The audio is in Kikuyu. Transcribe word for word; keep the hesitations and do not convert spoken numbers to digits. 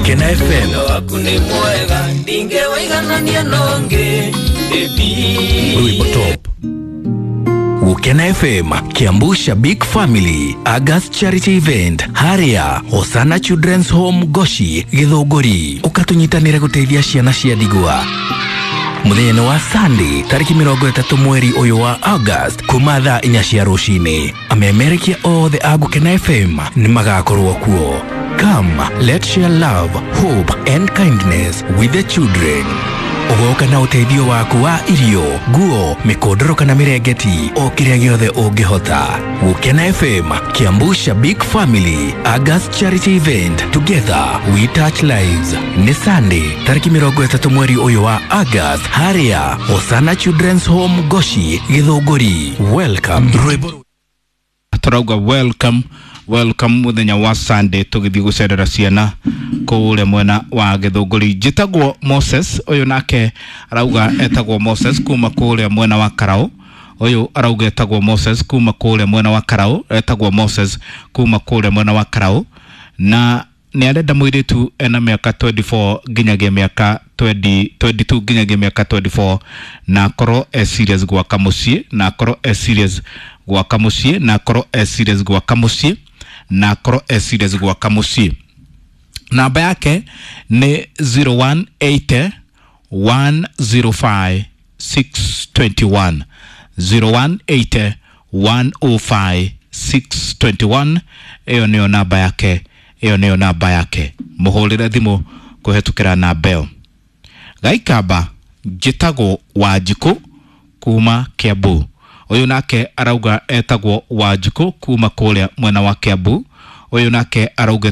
Gukena F M. Waku nĩ mwega, ndingĩwĩiganania nongĩ. Rwimbo top. Gukena F M, Kiambu Shabik Family August Charity Event, haria Hosana Children's Home, Goshi, Githunguri. Ukatunyitanire guteithia ciana cia ndigwa. Muthenya nĩ wa Sunday, tariki mĩrongo ĩtatũ mweri ũyũ wa August, kuma thaa inya cia rũcinĩ. Amemerekia othe a Gukena F M nĩ magakorwo kuo. Come, let's share love, hope and kindness with the children. Ũgoka na ũteithio waku wa irio, nguo, mĩkondoro kana mĩrengeti, o kĩrĩa gĩothe ũngĩhota. Gukena F M, Kiambu Shabik Family August Charity Event, together we touch lives. Nĩ Sunday, tariki mĩrongo ĩtatũ mweri ũyũ wa August, haria Hosana Children's Home, Goshi, Githunguri. Welcome. Rwĩmbo. Turauga welcome, welcome muthenya wa Sunday tugithie gucerera ciana kuria mwena wa Githunguri. Njitagwo Moses. Uyu nake arauga etagwo Moses kuma kuria mwena wa Karau. Uyu arauga etagwo Moses kuma kuria mwena wa Karau, etagwo Moses kuma kuria mwena wa Karau, na nĩ arenda mũirĩtu ena mĩaka mĩrongo ĩĩrĩ na ĩna nginyagia mĩaka mĩrongo ĩĩrĩ, mĩrongo ĩĩrĩ na ĩĩrĩ nginyagia mĩaka mĩrongo ĩĩrĩ na ĩna, na akorwo e serious gwaka mũciĩ, na akorwo e serious gwaka mũciĩ, na akorwo e serious gwaka mũciĩ, na akorwo e serious gwaka mũciĩ. Namba yake nĩ zero one eight one zero five six two one, zero one eight one zero five six two one. Ĩyo nĩyo namba yake, ĩyo nĩyo namba yake. Mũhũrĩre thimũ kũhetũkĩra namba ĩyo. Gaikamba, njĩtagwo Wanjikũ kuma Kiambu. Ũyũ nake arauga etagwo Wanjikũ kuma kũrĩa mwena wa Kiambu. Ũyũ nake arauga